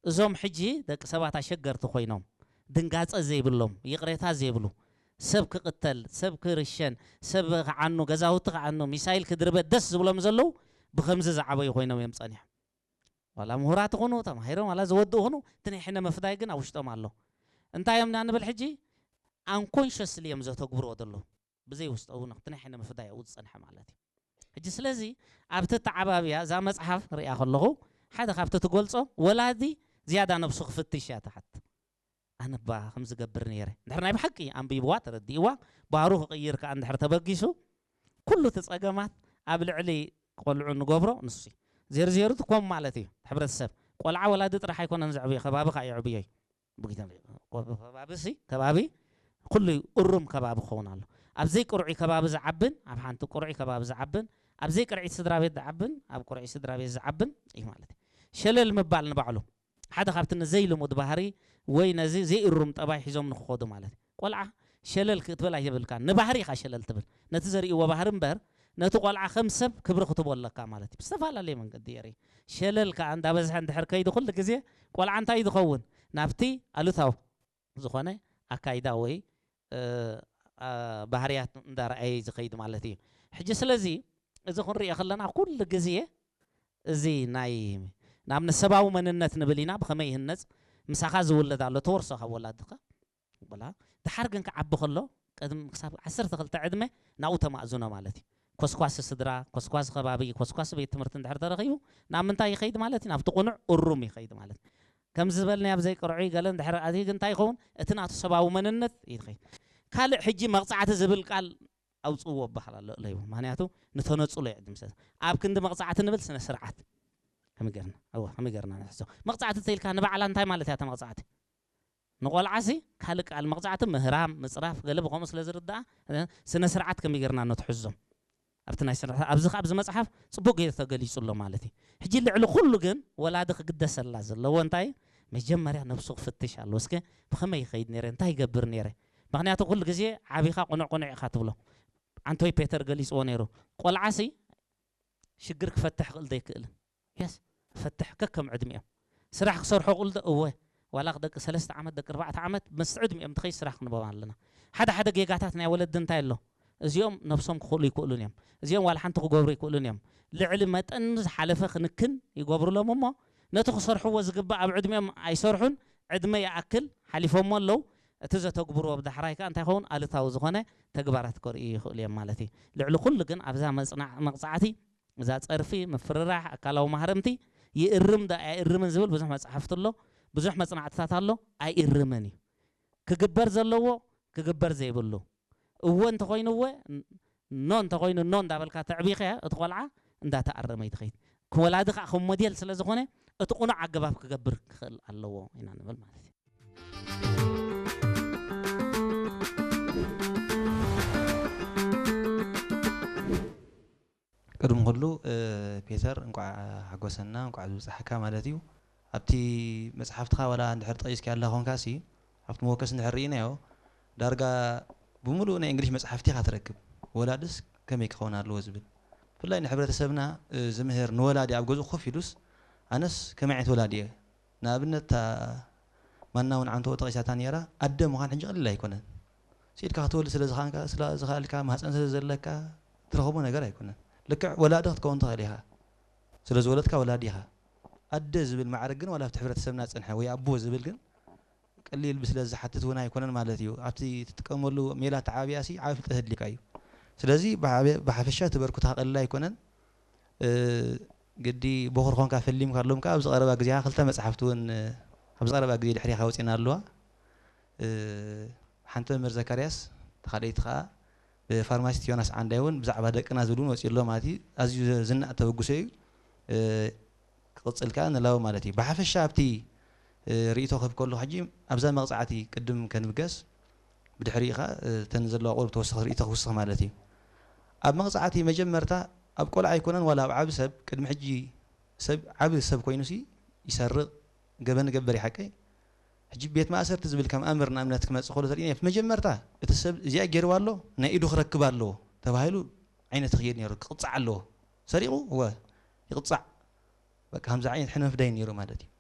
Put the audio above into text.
እዞም ሕጂ ደቂ ሰባት ኣሸገርቲ ኮይኖም፣ ድንጋጸ ዘይብሎም፣ ይቕሬታ ዘይብሉ፣ ሰብ ክቕተል፣ ሰብ ክርሸን፣ ሰብ ክዓኑ፣ ገዛውቲ ክዓኑ፣ ሚሳይል ክድርበ ደስ ዝብሎም ዘለዉ ብኸምዚ ዝዓበዩ ኮይኖም እዮም ጸኒሖም። ዋላ ምሁራት ይኹኑ፣ ተማሂሮም ዋላ ዝወድኡ ይኹኑ፣ እቲ ናይ ሕነ ምፍዳይ ግን ኣብ ውሽጦም ኣሎ። እንታይ እዮም ኢና ንብል ሕጂ? ኣንኮንሸስሊ እዮም ዘተግብርዎ ዘለዉ። ብዘይ ውስጠዊ ነኽቲ ናይ ሕነ ምፍዳይ ኣብኡ ዝጸንሐ ማለት እዩ። ሕጂ ስለዚ ኣብቲ ኣተዓባብያ እዛ መጽሓፍ ሪኣ ከለኹ፣ ሓደ ካብቲ ትገልጾ፣ ወላዲ ዝያዳ ነብሱ ክፍትሽ እያ ትሓት። ኣነ እባ ከም ዝገብር ነይረ። እንድሕር ናይ ብሓቂ ኣንቢብዋ፣ ተረዲእዋ፣ ባህሩ ክቕይር ከኣ እንድሕር ተበጊሱ፣ ኩሉ እቲ ጸገማት ኣብ ልዕሊ ቆልዑ ንገብሮ ንሱ እዩ። ዜርዜሩ እቲ ኮም ማለት እዩ። ሕብረተሰብ፣ ቆልዓ ወላዲ ጥራሕ ኣይኮነን ዘዕብዮ፣ ከባቢ ከኣ የዕብዮ እዩ። ብጊዜ ከባቢ ሲ፣ ከባቢ ኩሉ እሩም ከባቢ ክኸውን ኣሎ። ኣብ ዘይቅርዑይ ከባቢ ዝዓብን፣ ኣብ ሓንቲ ቅርዑይ ከባቢ ዝዓብን፣ ኣብ ዘይቅርዒት ስድራ ቤት ዝዓብን፣ ኣብ ቅርዑይ ስድራ ቤት ዝዓብን እዩ ማለት እዩ። ሸለል ምባል ንባዕሉ ሓደ ካብቲ ንዘይልሙድ ባህሪ ወይ ነዚ ዘይእሩም ጠባይ ሒዞም ንክኸዱ ማለት እዩ። ቆልዓ ሸለል ክትብል ኣይብልካን፣ ንባህሪ ኢኻ ሸለል ትብል። ነቲ ዘርእይዎ ባህሪ እምበር፣ ነቲ ቆልዓ ከም ሰብ ክብሪ ክትቦ ኣለካ ማለት እዩ። ብዝተፈላለየ መንገዲ የርኢ። ሸለል ከኣ እንዳበዝሐ እንድሕር ከይዱ ኩሉ ግዜ ቆልዓ እንታይ ዝኸውን? ናብቲ ኣሉታዊ ዝኾነ ኣካይዳ ወይ፣ እ፣ ኣ፣ ባህርያት እንዳረኣየ ዝኸይድ ማለት እዩ። ሕጂ ስለዚ እዚ ክንሪኦ ከለና ኩሉ ግዜ እዚ ናይ፣ ንኣብነት ሰብኣዊ መንነት ንብል ኢና፣ ብኸመይ ይህነጽ? ምሳኻ ዝውለድ ኣሎ፣ ተወርሶ ካብ ወላድኻ። በላ፣ ድሓር ግን ክዓቢ ከሎ፣ ቅድሚ ክሳብ ዓሰርተ ክልተ ዕድመ ናብኡ ተማእዝኖ ማለት እዩ። ኮስኳሲ ስድራ፣ ኮስኳሲ ከባቢ፣ ኮስኳሲ ቤት ትምህርቲ እንድሕር ተረኺቡ፣ ናብ ምንታይ ይኸይድ ማለት እዩ? ናብቲ ቅኑዕ እሩም ይኸይድ ማለት እዩ። ከም ዝበልናዮ ኣብ ዘይቅርዑይ ገለ እንድሕር ኣትዩ ግን እንታይ ይኸውን? እቲ ናቱ ሰብኣዊ መንነት ይኸይድ። ካልእ ሕጂ መቕጻዕቲ ዝብል ቃል ኣውጽእዎ እበሃል ኣሎ እለይዎ። ምኽንያቱ ንተነጽሎ ይዕድም ሰብ። ኣብ ክንዲ መቕጻዕቲ ንብል ስነ ስርዓት። ከመይ ጌርና? እወ፣ ከመይ ጌርና ንሕዞ? መቕጻዕቲ ተይልካ ንባዕላ እንታይ ማለት እያ እታ መቕጻዕቲ? ንቆልዓሲ ካልእ ቃል መቕጻዕቲ ምህራም፣ ምጽራፍ፣ ገለ ብኸምኡ ስለ ዝርድኣ፣ እ፣ ስነ ስርዓት ከመይ ጌርና ነትሕዞም? ኣብቲ ናይ ስነ-፣ ኣብዚ ከኣ ኣብዚ መጽሓፍ ጽቡቕ ጌሩ ተገሊጹ ኣሎ ማለት እዩ። ሕጂ ልዕሊ ኩሉ ግን ወላዲ ክግደሰላ ዘለዎ እንታይ? መጀመርያ ነብሱ ክፍትሽ ኣለዎ። እስከ ብኸመይ ይኸይድ ነይረ? እንታይ ይገብር ነይረ? ምኽንያቱ ኩሉ ግዜ ዓቢኻ ቅኑዕ ቅኑዕ ኢኻ ትብሎ። ኣንቶይ ፔተር ገሊጽዎ ነይሩ። ቆልዓሲ ሽግር ክፈትሕ ክእል ዘይክእልን። የስ፣ ፈትሕ ከከም ዕድሚኦም። ስራሕ ክሰርሑ ክእሉ ዶ? እወ። ዋላ ደቂ ሰለስተ ዓመት፣ ደቂ ኣርባዕተ ዓመት፣ ምስ ዕድሚኦም ትኸይድ ስራሕ ክንቦም ኣለና። ሓደ ሓደ ጌጋታት ናይ ወለዲ እንታይ ኣሎ? እዚኦም ነብሶም ክኽእሉ ይክእሉን እዮም። እዚኦም ዋላ ሓንቲ ክገብሩ ይክእሉን እዮም። ልዕሊ መጠን ዝሓለፈ ክንክን ይገብሩሎም እሞ፣ ነቲ ክሰርሕዎ ዝግባእ ኣብ ዕድሚኦም ኣይሰርሑን፣ ዕድመ ይኣክል ሓሊፎሞ ኣለዉ። እቲ ዘተግብርዎ ብዳሕራይ ከኣ እንታይ ይኸውን? ኣሉታዊ ዝኾነ ተግባራት ከርእዩ ይኽእሉ እዮም ማለት እዩ። ልዕሊ ኩሉ ግን ኣብዛ መጽናዕ-፣ መቕጻዕቲ፣ እዛ ጸርፊ፣ ምፍርራሕ፣ ኣካላዊ ማህረምቲ፣ ይእርም ዶ ኣይእርምን ዝብል ብዙሕ መጽሓፍቲ ኣሎ፣ ብዙሕ መጽናዕትታት ኣሎ። ኣይእርምን እዩ። ክግበር ዘለዎ፣ ክግበር ዘይብሉ። እወ እንተኾይኑ እወ፣ ኖ እንተኾይኑ ኖ እንዳበልካ ተዕቢኸያ፣ እቲ ቆልዓ እንዳተኣረመ እዩ ትኸይድ። ወላዲ ከኣ ከም ሞዴል ስለ ዝኾነ፣ እቲ ቅኑዕ ኣገባብ ክገብር ክኽእል ኣለዎ ኢና ንብል ማለት እዩ። ቅድሚ ኩሉ፣ እ፣ ፔተር፣ እንቋዕ ሓጎሰና፣ እንቋዕ ዝበጻሕካ ማለት እዩ። ኣብቲ መጽሓፍትኻ ዋላ እንድሕር ጠቒስካዮ ኣለኻ ኾንካሲ፣ ኣብቲ መወከሲ እንድሕር ርኢናዮ፣ ዳርጋ ብምሉኡ ናይ እንግሊሽ መጽሓፍቲ ኢኻ ትረክብ። ወላድስ ከመይ ክኸውን ኣለዎ ዝብል። ብፍላይ ንሕብረተሰብና፣ እ፣ ዝምህር ንወላዲ ኣብ ገዝኡ ኮፍ ኢሉስ፣ ኣነስ ከመይ ዓይነት ወላዲ እየ? ንኣብነት፣ እታ ማና እውን ዓንተቦ ጠቒሳታ ነይራ፣ ኣደ ምዃን ሕጂ ቀሊል ኣይኮነን። ስኢድካ ክትወልድ ስለ ዝኻንካ-፣ ስለ ዝኸኣልካ፣ ማህፀን ስለ ዘለካ ትረኽቦ ነገር ኣይኮነን። ልክዕ ወላዲ ክትከውን ትኽእል ኢኻ። ስለ ዝወለድካ ወላዲ ኢኻ። ኣደ ዝብል ማዕረግ ግን ዋላ ኣብቲ ሕብረተሰብና ዝጸንሐ ወይ ኣቦ ዝብል ግን ቀሊል ስለ ዝሓትት እውን ኣይኮነን ማለት እዩ። ኣብቲ ትጥቀመሉ ሜላ ተዓብያሲ ዓቢ ፍልጠት ኣድልዩካ እዩ። ስለዚ ብሓፈ-፣ ብሓፈሻ እቲ በርኩታ ቀሊል ኣይኮነን። እ፣ ግዲ ቦኽሪ ኮንካ ፈሊምካ ኣሎም ከኣ ኣብዚ ቀረባ ግዜ ክልተ መጽሓፍቲ እውን፣ እ፣ ኣብዚ ቀረባ ግዜ ድሕሪኻ ወጺና ኣለዋ። እ፣ ሓንቲ መምህር ዘካርያስ፣ እታ ካልኣይቲ ከኣ ብፋርማሲስት ዮናስ ዓንዳይ እውን ብዛዕባ ደቅና ዝብል እውን ወጺኡ ኣሎ ማለት እዩ። ኣዝዩ ዝናእ ተበግሶ እዩ። እ፣ ክቕጽል ከኣ ንላቦ ማለት እዩ። ብሓፈሻ ኣብቲ፣ እ፣ ርእይቶ ክህብ ከለኹ ሕጂ ኣብዛ መቕጻዕቲ ቅድም ከንብገስ፣ ብድሕሪኡ ከኣ፣ እ፣ እተን ዘለዋ ቁሩብ ተወሳኺ ርእይቶ ክውስኽ ማለት እዩ። ኣብ መቕጻዕቲ መጀመርታ ኣብ ቆልዓ ኣይኮነን ዋላ ኣብ ዓቢ ሰብ፣ ቅድሚ ሕጂ ሰብ፣ ዓቢ ሰብ ኮይኑሲ ይሰርቕ፣ ገበን ይገብር እዩ ሓቀይ። ሕጂ ቤት ማእሰርቲ ዝብል ከም ኣምር ንኣብነት ክመጽእ ከሎ ተርእዮ፣ መጀመርታ እቲ ሰብ እዚኣ ገይርዋ ኣሎ፣ ናይ ኢዱ ክረክብ ኣለዎ ተባሂሉ ዓይነት ክየድ ነይሩ፣ ክቕጻዕ ኣለዎ። ሰሪቑ? እወ፣ ይቕጻዕ። በቃ ከምዚ ዓይነት ሕነ ምፍዳይ ነይሩ ማለት እዩ።